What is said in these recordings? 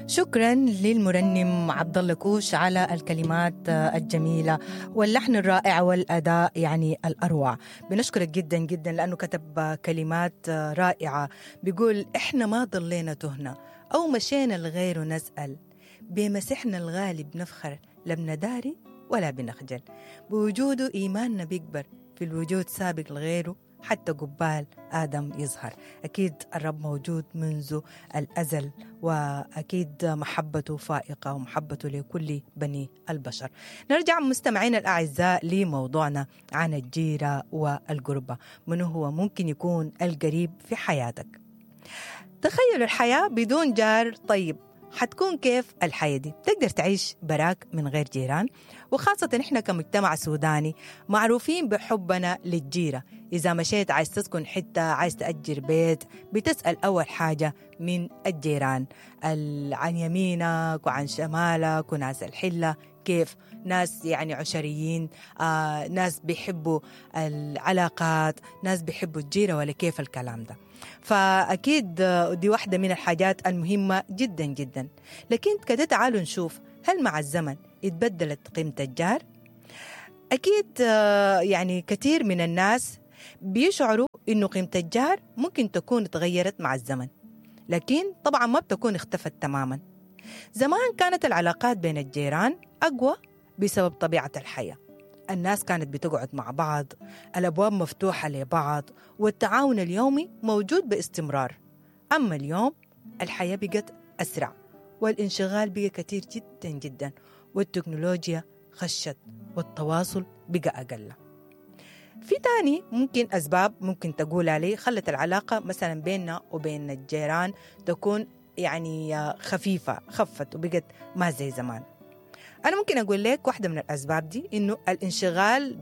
شكرا للمرنم عبد الله كوش على الكلمات الجميلة واللحن الرائع والاداء يعني الاروع. بنشكرك جدا جدا لانه كتب كلمات رائعة، بيقول احنا ما ضلينا تهنا او مشينا لغيره نسال، بمسحنا الغالي بنفخر لا بنداري ولا بنخجل، بوجوده ايماننا بيكبر في الوجود سابق لغيره حتى قبال آدم يظهر. أكيد الرب موجود منذ الأزل، وأكيد محبته فائقة ومحبته لكل بني البشر. نرجع مستمعينا الأعزاء لموضوعنا عن الجيرة والقربة، من هو ممكن يكون القريب في حياتك؟ تخيلوا الحياة بدون جار طيب، حتكون كيف الحياة دي؟ تقدر تعيش براك من غير جيران؟ وخاصة إحنا كمجتمع سوداني معروفين بحبنا للجيرة. إذا مشيت عايز تسكن حتة، عايز تأجر بيت، بتسأل أول حاجة من الجيران، عن يمينك وعن شمالك وناس الحلة كيف، ناس يعني عشريين، ناس بيحبوا العلاقات، ناس بيحبوا الجيرة، ولا كيف الكلام ده؟ فأكيد دي واحدة من الحاجات المهمة جدا جدا. لكن كده تعالوا نشوف، هل مع الزمن اتبدلت قيمة الجار؟ أكيد يعني كثير من الناس بيشعروا إنه قيمة الجار ممكن تكون تغيرت مع الزمن، لكن طبعا ما بتكون اختفت تماما. زمان كانت العلاقات بين الجيران أقوى بسبب طبيعة الحياة، الناس كانت بتقعد مع بعض، الأبواب مفتوحة لبعض، والتعاون اليومي موجود باستمرار. أما اليوم الحياة بقت أسرع، والانشغال بقى كتير جدا جدا، والتكنولوجيا خشت، والتواصل بقى أقل. في تاني ممكن أسباب ممكن تقول عليه خلت العلاقة مثلا بيننا وبين الجيران تكون يعني خفيفة، خفت وبقت ما زي زمان. أنا ممكن أقول لك واحدة من الأسباب دي إنه الانشغال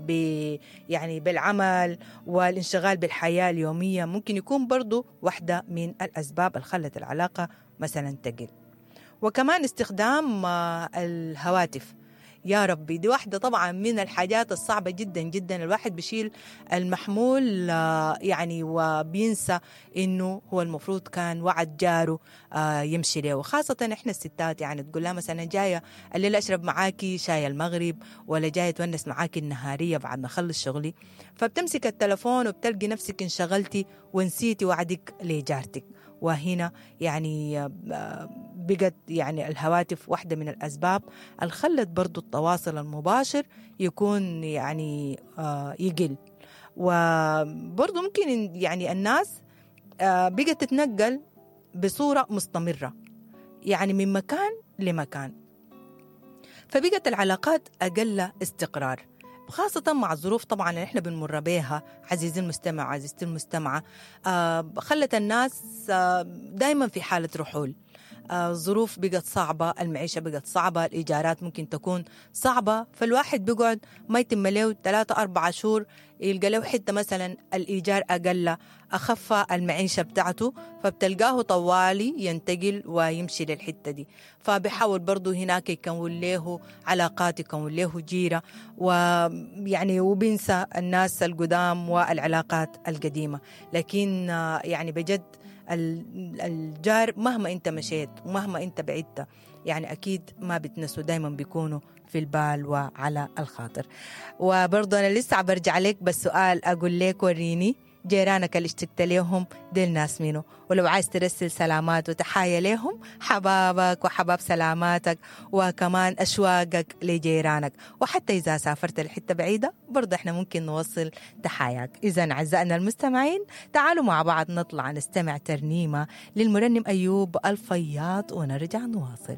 يعني بالعمل والانشغال بالحياة اليومية ممكن يكون برضو واحدة من الأسباب اللي خلت العلاقة مثلا تقل. وكمان استخدام الهواتف، يا ربي دي واحدة طبعا من الحاجات الصعبة جدا جدا. الواحد بيشيل المحمول يعني وبينسى انه هو المفروض كان وعد جاره يمشي له، وخاصة احنا الستات يعني تقول لها مثلا جاية الليلة اشرب معاكي شاي المغرب، ولا جاية تونس معاكي النهارية بعد ما اخلص شغلي، فبتمسك التلفون وبتلقي نفسك انشغلتي ونسيتي وعدك لجارتك. وهنا يعني بقت يعني الهواتف واحدة من الأسباب اللي خلت برضو التواصل المباشر يكون يعني يقل. وبرضو ممكن يعني الناس بقت تتنقل بصورة مستمرة يعني من مكان لمكان، فبقت العلاقات أقل استقرار، خاصة مع الظروف طبعا اللي احنا بنمر بيها. عزيزي المستمع، عزيزتي المستمعة، خلت الناس دايما في حالة رحول. الظروف بقت صعبة، المعيشة بقت صعبة، الإيجارات ممكن تكون صعبة، فالواحد بيقعد ما يتم له 3-4 شهور يلقى له حتة مثلا الإيجار أقل، أخف المعيشة بتاعته، فبتلقاه طوالي ينتقل ويمشي للحتة دي. فبيحاول برضو هناك يكون له علاقات، يكون له جيرة، ويعني وبينسى الناس القدام والعلاقات القديمة. لكن يعني بجد الجار مهما انت مشيت ومهما انت بعدت يعني اكيد ما بتنسوا، دايما بيكونوا في البال وعلى الخاطر. وبرضه انا لسه برجع لك بس سؤال اقول لك، وريني جيرانك اللي اشتقت ليهم ديل ناس منو، ولو عايز ترسل سلامات وتحايا ليهم حبابك وحباب سلاماتك وكمان أشواقك لجيرانك، وحتى إذا سافرت لحتة بعيدة برضه احنا ممكن نوصل تحاياك. إذا أعزائنا المستمعين تعالوا مع بعض نطلع نستمع ترنيمة للمرنم أيوب الفياض ونرجع نواصل.